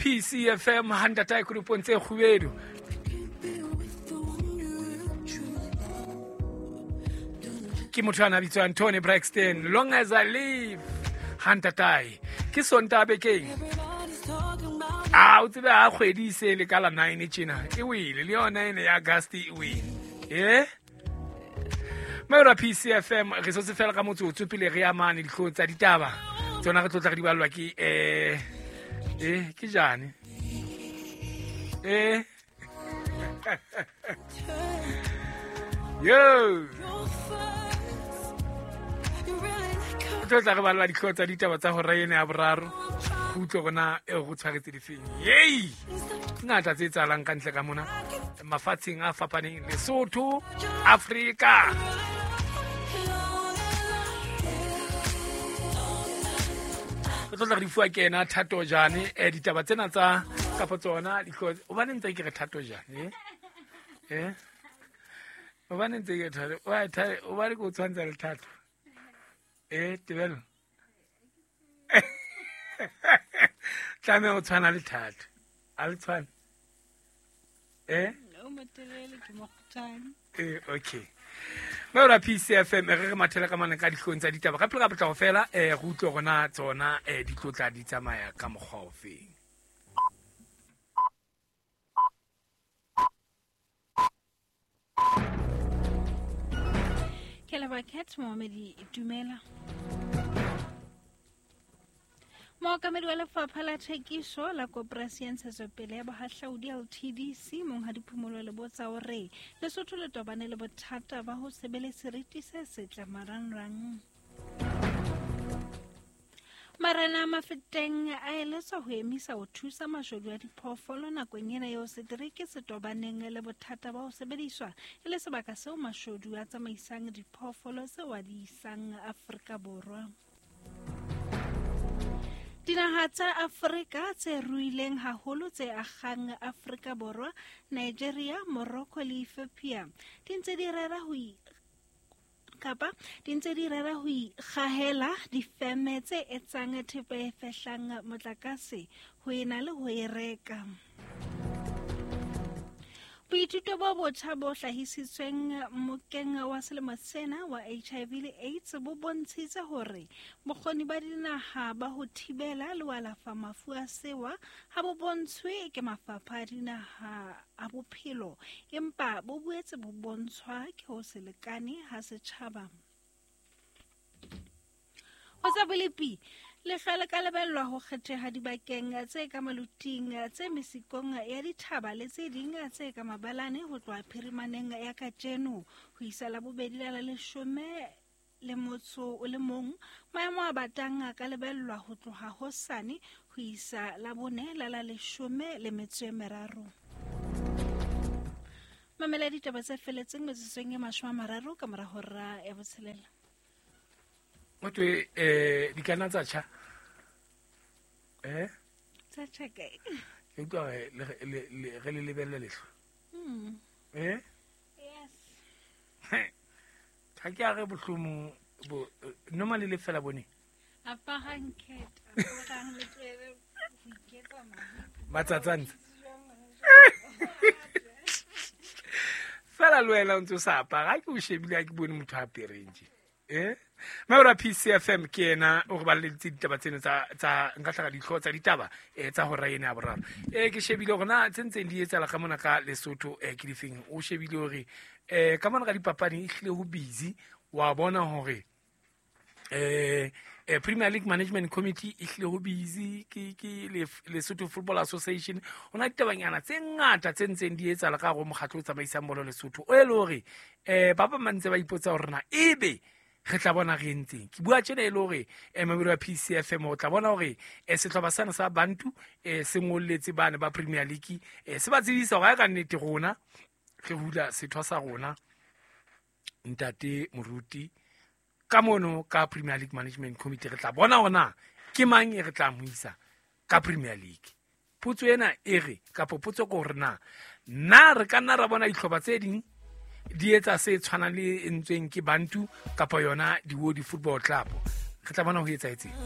PCFM ha ntatae kodupong tse kgubedu. Ke motho a na bitswang Tony Braxton, Long As I Live, ha ntatae. Ke Sontaha bekeng. A o tsebe ha kgwedi e se le ka la 9 tjena e wele le yona ene ya August e wele. Eh? Maora PCFM re sotse fela ka motsotso pele re amane dihlooho tsa ditaba tsona re tlotla re di ballwa ke ke jane yo re tlotla re ballwa dihlooho tsa ditaba tsa hora ena ya boraro go utlwe gona e go tshwaretse difeng yei ngata tse tsalang ka ntle ka mona mafatsheng a fapaneng Lesotho, Afrika. Re tlotla re di fuwa ke ena Thato Jane, ditaba tsena tsa kapa tsona hobane ntse ke re Thato Jane, eh? Hobane ntse ke Thato, hobane ke o tshwantsha le Thato. Tebello. Tlameha o tshwana le Thato. A le tshwane? O motelele ke mokgutshwane. Okay. Maora PCFM re re mathela ka mane ka dihlong tsa ditaba. Ka pele ka potlako fela, re utlwe rona tsona di tlotla di tsamaya ka mokgwa ofeng. Ke leboha Cat Mohamedi, dumela. Mookamedi wa lefapha la thekiso la koporasi ya ntshetsopele ya bohahlaudi LTDC Monghadi Phumolo Lebotsa o re Lesotho le tobane le bothata ba ho se be le seriti se setle marangrang. Marena a Mafeteng a eletswa ho emisa ho thusa mashodu a diphoofolo nakong ena eo setereke se tobaneng le bothata ba ho sebediswa e le sebaka seo mashodu a tsamaisang diphoofolo tseo a di isang Afrika Borwa. Dinaha tsa Afrika tse ruileng haholo tse akgang Afrika Borwa, Nigeria, Morocco le Ethiopia di ntse di rera ho kapa di ntse di rera ho ikgahela difeme tse etsang thepa e fehlang motlakase ho ena le ho e reka. Boithuto bo botjha bo hlahisitsweng mokeng wa selemo sena wa HIV le AIDS bo bontshitse hore bokgoni ba dinaha ba ho thibela le ho alafa mafu a sewa ha bo bontshwe ke mafapha a dinaha a bophelo, empa bo boetse bo bontshwa ke ho se lekane ha setjhaba. Ho tsa bolepi, lehlwa le ka lebellwa ho kgetheha dibakeng tse ka maluting, tse mesikong ya dithaba le tse ding tse ka mabalane ho tloha phirimaneng ya kajeno ho isa labobedi la la leshome le motso o le mong. Maemo a batang a ka lebellwa ho tloha hosane ho isa labone la la leshome le metso e meraro. Mamela ditaba tse feletseng metsotsong e 30 ka mora hora ya botshelela. Ho thwe, di ka nna tsa tjha? Tsa tjha kae? Ke utlwa re le re le lebelle lehlwa. Yes. Ha ke a re bohlomong bo normally le fela bone. Aparang cat, aparang le tlohele ho iketsa mabipo. Matsatsantsa. Fela le wena o ntse o sa apara, ha ke o shebile ha ke bone motho a apereng tje. Maora PCFM ke ena o re balleditse ditaba tseno tsa nka hlaka dihlooho tsa ditaba tsa hora ena ya boraro. Ke shebile hore na tse ntseng di etsahala ka mona ka Lesotho ke difeng. O shebile hore ka mona ka dipapading e hlile ho busy, wa bona hore Premier League Management Committee e hlile ho busy, ke Lesotho Football Association. Ho na ditabanyana tse ngata tse ntseng di etsahala ka hare ho mokgatlo o tsamaisang bolo Lesotho, o e le hore ba bang ba ntse ba ipotsa hore na ebe re tla bona re entseng. Ke bua tjena e le hore mamedi wa PCFM o tla bona hore sehlopha sena sa Bantu se ngolletse bane ba Premier League, se ba tsebisa hore ha ka nnete rona re hula setho sa rona ntate Moruti ka mono ka Premier League Management Committee, re tla bona hore na ke mang e re tla mo isa ka Premier League. Potso ena e re, kapa potso ke hore na, na re ka nna ra bona dihlopha tse ding di etsa se tshwanang le e entsweng ke Bantu kapa yona Diwodi Football Club. Re tla bona ho etsahetseng.